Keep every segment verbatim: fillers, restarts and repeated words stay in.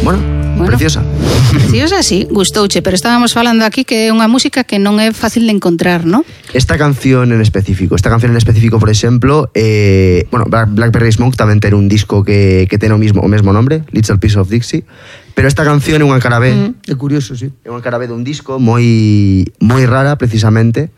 bueno, bueno, preciosa. Preciosa, sí, gustouche, pero estábamos falando aquí que é unha música que non é fácil de encontrar, ¿no? Esta canción en específico, esta canción en específico, por exemplo, eh, bueno, Blackberry Smoke tamén ten un disco que, que ten o mismo, o mesmo nombre, Little Piece of Dixie, pero esta canción é unha cara B. Mm, é curioso, sí. É unha cara B dun disco moi moi rara, precisamente,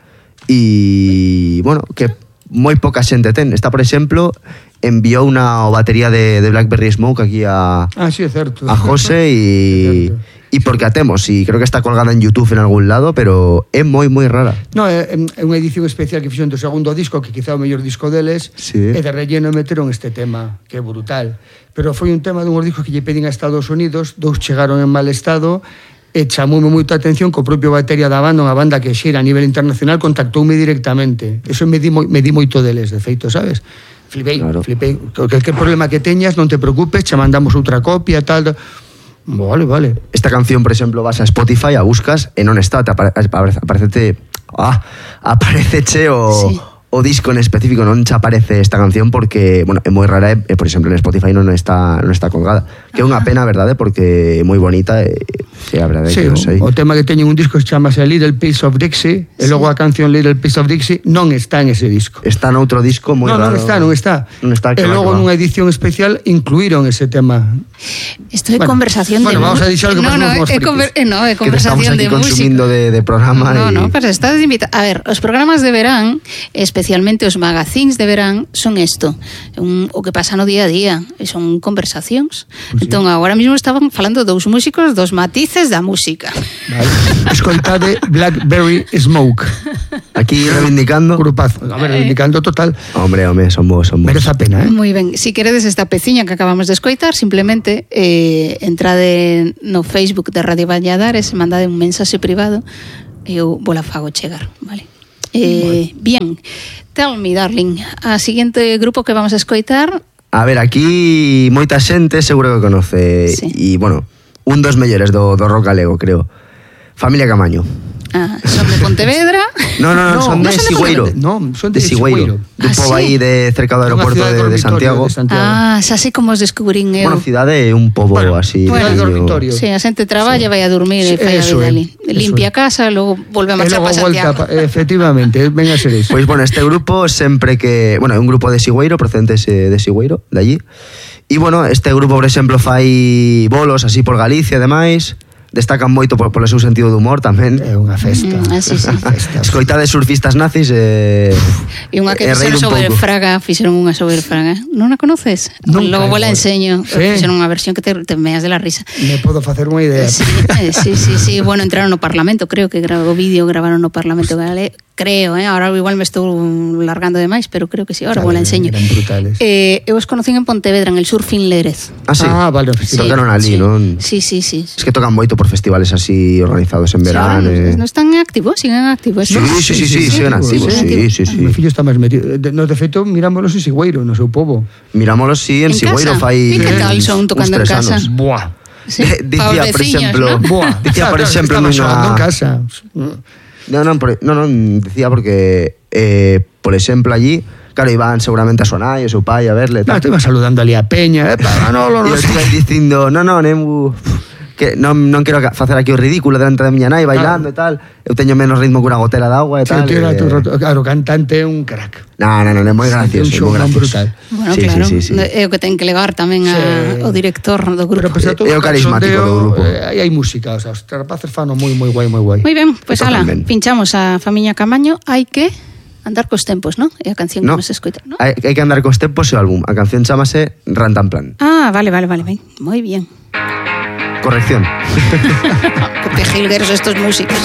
e, bueno, que moi poca xente ten. Esta, por exemplo, enviou unha batería de, de Blackberry Smoke aquí a, ah, sí, é certo. a José e, e porque a temos, e creo que está colgada en YouTube en algún lado, pero é moi moi rara. No, é, é unha edición especial que fixeron do segundo disco, que quizá o mellor disco deles, sí. E de relleno meteron este tema, que é brutal. Pero foi un tema dun discos que lle pedín a Estados Unidos, dous chegaron en mal estado, e chamoume moita atención que o propio batería da banda, unha banda que xera a nivel internacional, contactoume directamente. Eso me di, me di moito deles, de feito, sabes? Flipei, claro. flipei. Qualquer problema que teñas, non te preocupes, che mandamos outra copia, tal... Vale, vale. Esta canción, por exemplo, vas a Spotify, a buscas, e non está, te apare, aparecete... Ah, apareceche o... Sí. O disco en específico non che aparece esta canción porque, bueno, é moi rara e, por exemplo, en Spotify non está non está colgada. Que é unha pena, verdade, porque é moi bonita e, sí, a verdade, sí, que non sei. O tema que teñen un disco que se chama Little Piece of Dixie, sí. E logo a canción Little Piece of Dixie non está en ese disco. Está noutro disco moi no, raro. Non está, non está. Non está, e logo nunha edición especial incluíron ese tema. Isto é bueno, conversación bueno, de... Bueno, vamos a dixar que no, no, é, conver... no, é conversación de música. Que estamos aquí consumindo de, de programa. No, y... no, pero estás invitado. A ver, os programas de verán, especialmente os magazines de verán, son isto, un, o que pasa no día a día, son conversacións. Pues entón, sí. Agora mesmo estaban falando dous músicos, dos matices da música. Vale. Escoltade Blackberry Smoke. Aquí reivindicando. Grupazo. A ver, reivindicando total. Hombre, hombre, son vos, son vos. Merece a pena, eh? Moi ben. Si queredes esta peciña que acabamos de escoitar, simplemente eh, entrade no Facebook de Radio Valladares e mandade un mensaxe privado e eu vou la fago chegar, vale? Eh, bien, tell me, darling, a seguinte grupo que vamos a escoitar. A ver, aquí moita xente seguro que conoce, sí. E, bueno, un dos mellores do, do rock galego, creo. Familia Camaño. Ah, son de Pontevedra. No, no, no, no son no de son Sigüeiro. De, no, son de, de Sigüeiro. De un pobo ah, aí sí? de cerca do aeroporto de, de, Santiago. de Santiago. Ah, xa sei como os descubrín eu. Bueno, cidade é un pobo bueno, así. Bueno, dormitorio. Sí, a xente traballa, sí. Vai a dormir e fai a vida ali. Limpia a casa, logo volve a marchar para Santiago. Volta, efectivamente, ven a ser eso. Pois, pues, bueno, este grupo sempre que... Bueno, é un grupo de Sigüeiro, procedentes de Sigüeiro, de allí. E, bueno, este grupo, por exemplo, fai bolos así por Galicia e demais. Destacan moito por, polo seu sentido de humor tamén. É unha festa. Mm, así, sí. Escoita de surfistas nazis e... E unha que fixeron sobre pouco. Fraga, fixeron unha sobre Fraga. Non a conoces? Nunca. Logo vos la enseño. Sí. Fixeron unha versión que te, te meas de la risa. Me podo facer unha idea. Sí, sí, sí, sí. Bueno, entraron no Parlamento, creo que grabou vídeo, gravaron no Parlamento Galego. Creo, eh? Ahora igual me estou largando demais, pero creo que sí, ahora vos la enseño. Eran brutales. Eh, eu os conocín en Pontevedra, en el Surfing Lérez. Ah, sí? Ah, vale. Sí, tocaron ali, sí. non? Sí, sí, sí. Es que tocan moito por festivales así organizados en verano. Sí, eh. non están activos, siguen activos. Sí, sí, sí, sí, sí, siguen activos, sí, sí, sí. O meu fillo está máis metido. No, de feito, mirámonos en Sigüeiro, no seu pobo. Mirámolos, sí, en, en Sigüeiro fai... E que tal son tocando en casa? Anos. Buah. Sí, dicía, por exemplo, ¿no? Buah. Dicía, por exemplo, estaba nunha... xogando en casa. No, no, por, no, no, decía porque, eh, por exemplo, allí, claro, iban seguramente a su nai, a su pai a verle. No, te iba saludando ali a Peña, eh, para no, no, no. E eu iba dicindo, no, no, nemu, que non, non quero facer aquí o ridículo delante da miña nai bailando claro. E tal. Eu teño menos ritmo que unha gotera de agua e sí, tal. Tío, e... tu, claro, cantante é un crack. No, no, no, é moi gracioso, sí, é moi gracioso. brutal. Bueno, sí, claro, sí, sí, sí. É o que ten que levar tamén a, sí. o director do grupo. Pero pese a todo, é o carismático do grupo. Aí hai música, o sea, os rapaces fano moi moi guai, moi guai. Moi ben, pois pues, ala, pinchamos a Familia Camaño, hai que andar cos tempos, ¿no? É a canción no, que nos escoita, ¿no? Hai, hai que andar cos tempos e o álbum. A canción chamase Rantanplan. Ah, vale, vale, vale, ben. Moi bien. Corrección. Que jilgueros estos músicos.